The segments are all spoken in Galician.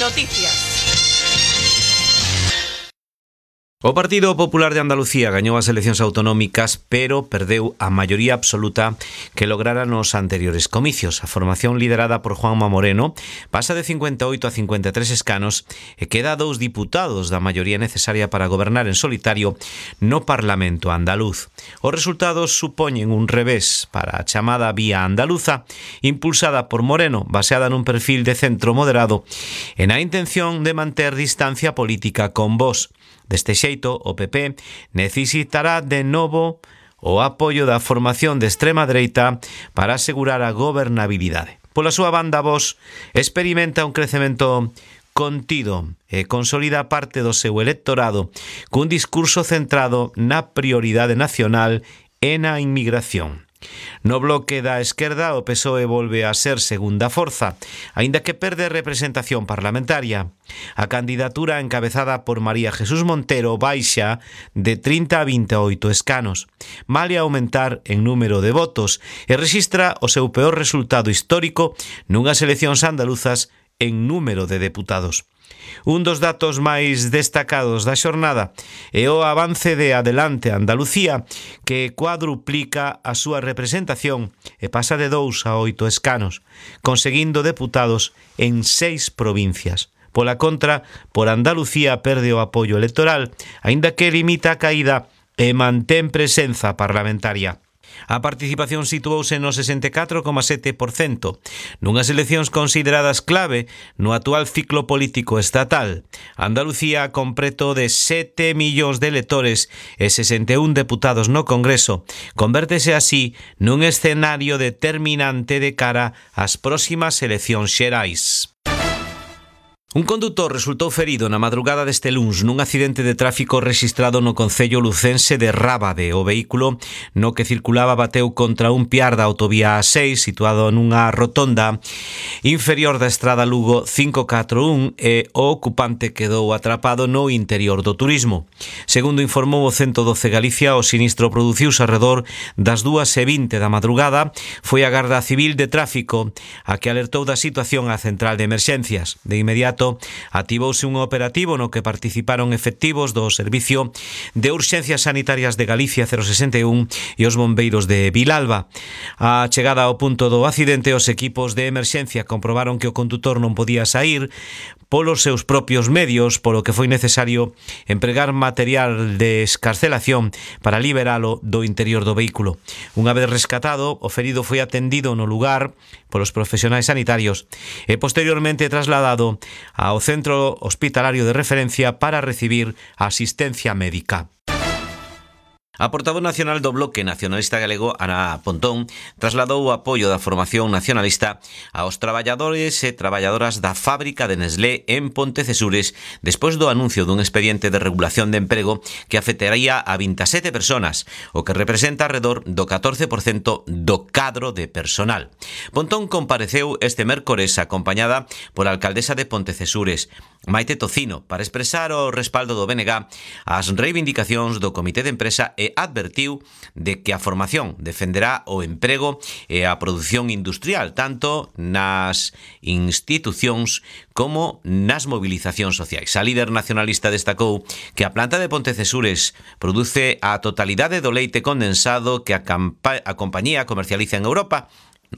Noticias. O Partido Popular de Andalucía gañou as eleccións autonómicas, pero perdeu a maioría absoluta que lograra nos anteriores comicios. A formación liderada por Juanma Moreno pasa de 58 a 53 escanos e queda 2 diputados da maioría necesaria para gobernar en solitario no Parlamento andaluz. Os resultados supoñen un revés para a chamada Vía Andaluza, impulsada por Moreno, baseada nun perfil de centro moderado e na intención de manter distancia política con Vox. Deste xeito, o PP necesitará de novo o apoio da formación de extrema dereita para asegurar a gobernabilidade. Pola súa banda, Vox experimenta un crecemento contido e consolida parte do seu electorado cun discurso centrado na prioridade nacional e na inmigración. No bloque da esquerda, o PSOE volve a ser segunda forza, aínda que perde representación parlamentaria. A candidatura encabezada por María Jesús Montero baixa de 30 a 28 escanos, malia aumentar en número de votos, e rexistra o seu peor resultado histórico nunhas eleccións andaluzas en número de deputados. Un dos datos máis destacados da xornada é o avance de Adelante Andalucía, que cuadruplica a súa representación e pasa de 2 a 8 escanos, conseguindo deputados en 6 provincias. Pola contra, por Andalucía perde o apoio electoral, aínda que limita a caída e mantén presenza parlamentaria. A participación situouse no 64,7%, nunhas eleccións consideradas clave no actual ciclo político estatal. Andalucía, con preto de 7 millóns de electores e 61 deputados no Congreso, convértese así nun escenario determinante de cara ás próximas eleccións xerais. Un condutor resultou ferido na madrugada deste luns nun accidente de tráfico rexistrado no concello lucense de Rábade. O vehículo no que circulaba bateu contra un piar da autovía A6 situado nunha rotonda inferior da estrada Lugo 541 e o ocupante quedou atrapado no interior do turismo. Segundo informou o 112 Galicia, o sinistro produciuse arredor das 2:20 da madrugada. Foi a Garda Civil de Tráfico a que alertou da situación á central de emerxencias. De inmediato activouse un operativo no que participaron efectivos do Servicio de Urxencias Sanitarias de Galicia 061 e os bombeiros de Vilalba. A chegada ao punto do accidente, os equipos de emerxencia comprobaron que o condutor non podía saír polos seus propios medios, polo que foi necesario empregar material de escarcelación para liberalo do interior do vehículo. Unha vez rescatado, o ferido foi atendido no lugar polos profesionais sanitarios e posteriormente trasladado ao centro hospitalario de referencia para recibir asistencia médica. A portavoz nacional do Bloque Nacionalista Galego, Ana Pontón, trasladou o apoio da formación nacionalista aos traballadores e traballadoras da fábrica de Nestlé en Pontecesures despois do anuncio dun expediente de regulación de emprego que afectaría a 27 personas, o que representa alrededor do 14% do cadro de personal. Pontón compareceu este mércores acompañada pola alcaldesa de Pontecesures, Maite Tocino, para expresar o respaldo do BNG ás reivindicacións do Comité de Empresa e advertiu de que a formación defenderá o emprego e a produción industrial tanto nas institucións como nas movilizacións sociais. A líder nacionalista destacou que a planta de Pontecesures produce a totalidade do leite condensado que a compañía comercializa en Europa,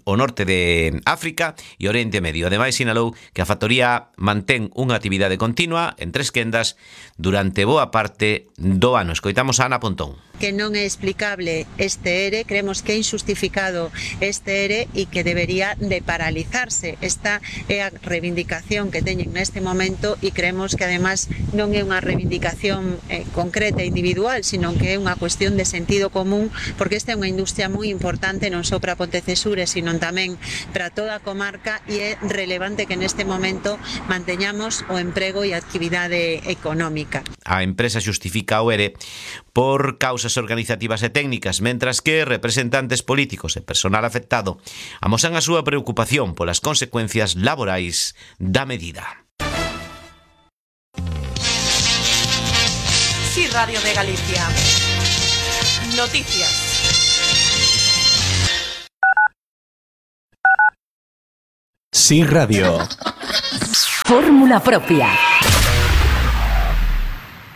o norte de África e Oriente Medio. Ademais, sinalou que a factoría mantén unha actividade continua en 3 quendas durante boa parte do ano. Escoitamos a Ana Pontón. Que non é explicable este ERE, creemos que é injustificado este ERE e que debería de paralizarse. Esta é a reivindicación que teñen neste momento e creemos que además non é unha reivindicación concreta e individual, sino que é unha cuestión de sentido común, porque esta é unha industria moi importante non só para Pontecesures, sino tamén para toda a comarca e é relevante que neste momento manteñamos o emprego e a actividade económica. A empresa xustifica o ERE por causas organizativas e técnicas, mentras que representantes políticos e personal afectado amosan a súa preocupación polas consecuencias laborais da medida. Sí, Radio de Galicia. Noticias. Sí Radio. Fórmula propia.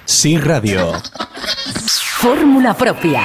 Sí Radio. Fórmula propia.